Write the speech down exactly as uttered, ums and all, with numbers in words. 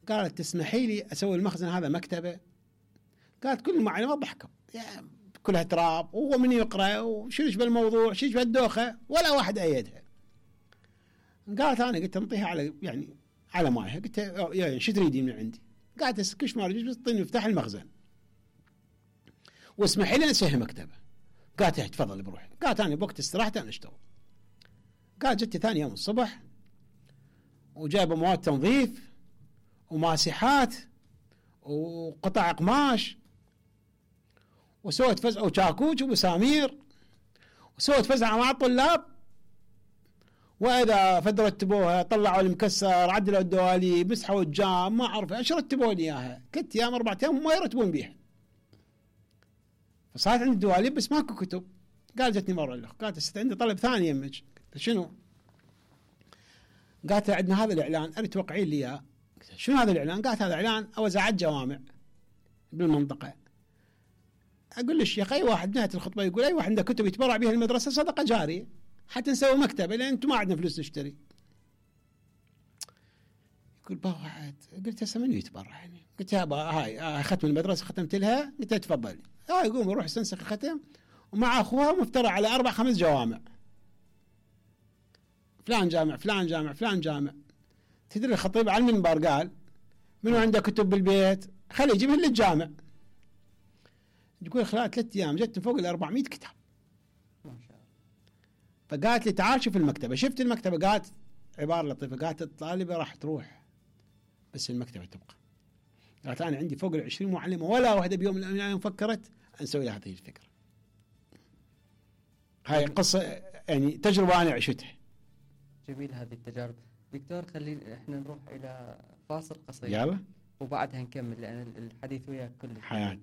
قالت تسمحي لي اسوي المخزن هذا مكتبه؟ قالت كل المعلمات ضحكوا، يعني كلها تراب ومن يقرا وشنش بالموضوع شنش بالدوخه، ولا واحد ايدها. قالت انا قلت انطيها على يعني على مايها، قلت يعني شو تريدين من عندي؟ قالت كش ما اريد بس اعطيني مفتاح المخزن واسمحي لي اسوي مكتبه. قالت تفضل بروحي. قالت انا بوقت استراحتي انا اشتغل. قالت جتي ثاني يوم الصبح وجايبه مواد تنظيف وماسحات وقطع قماش وسوت فزعه وشاكوش ومسامير وسوت فزعه مع الطلاب، واذا فد رتبوها طلعوا المكسر عدلوا الدواليب مسحوا الجام ما اعرف ايش رتبوا لي اياها، ثلاث ايام اربع ايام ما يرتبون بيها. فصارت عندي دواليب بس ماكو كتب. قال جتني مره الاخ قالت ست عندي طلب ثاني يمك. قلت شنو؟ قالت عندنا هذا الاعلان اريد توقعين لي اياه. شنو هذا الاعلان؟ قالت هذا اعلان اوزع الجوامع بالمنطقه. اقول ليش يا اخي، اي واحد بنهايه الخطبه يقول اي واحد عنده كتب يتبرع بها المدرسه صدقه جاريه حتى نسوي مكتبه لان انتم ما عندنا فلوس نشتري. يقول با واحد. قلت هسه منو يتبرع يعني؟ قلت يا با هاي ختم المدرسه ختمت لها. قلت تفضلي. هاي يقوم يروح يستنسخ الختم ومع اخوها مفترع على اربع خمس جوامع، فلان جامع فلان جامع فلان جامع. تدري الخطيب على المنبر قال منو عنده كتب بالبيت خليه يجيبها للجامع. تقول خلال ثلاث ايام جت فوق ال أربعمئة كتاب ما شاء الله. فقالت لي تعال شوف المكتبه. شفت المكتبه؟ قالت عباره لطيفه، قالت الطالبه راح تروح بس المكتبه تبقى. قالت انا عندي فوق العشرين معلمه ولا واحده بيوم من الايام فكرت نسوي لها هذه الفكره. هاي قصه يعني تجربه انا عشتها. جميل هذه التجارب. دكتور خلينا احنا نروح الى فاصل قصير يلا وبعدها نكمل لان الحديث وياك كله حياه.